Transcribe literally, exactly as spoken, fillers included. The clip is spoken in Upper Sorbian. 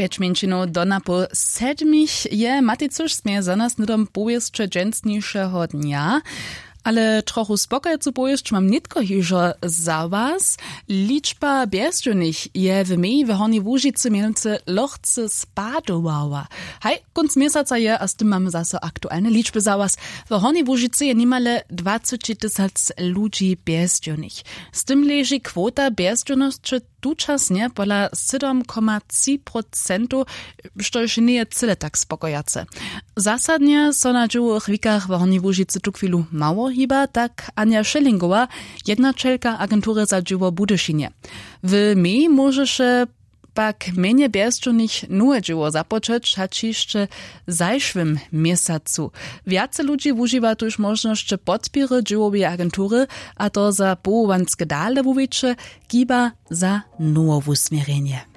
Pjeć mjeńšinow do napoł sedmich je matej cyž směje za nas hnydom powěsće dźensnišeho dnja. Ale trochu spokojcu powěsć mam nětko hižo za was. Ličba bjezdźownych je w meji w hornjej łužicy mjenujcy lochce spadowała. Haj, kónc měsaca je a z tym mamy zaso aktualne ličby za was. W hornjej łužicy je nimale dwaceći tysac ludźi bjezdźownych. Z tym leži kwota bjezdźownosće tučasnje pola sydom koma tři procentow, štož njeje cyle tak spokojace. Zasadnje so na dźěłowych wikach w hornjej łužicy tuchwilu mało hiba, tak anja šelingowa, jednaćelka agentury za dźěło w budyšinje. W meji móžeše pak mjenje bjezdźownych nowe dźěło započeć hač hišće w zašłym měsacu. Wjace ludźi wužiwa tuž móžnosće podpěry dźěłoweje agentury, a to za powołanske dale wuwiće, kiba za nowe wusměrjenje.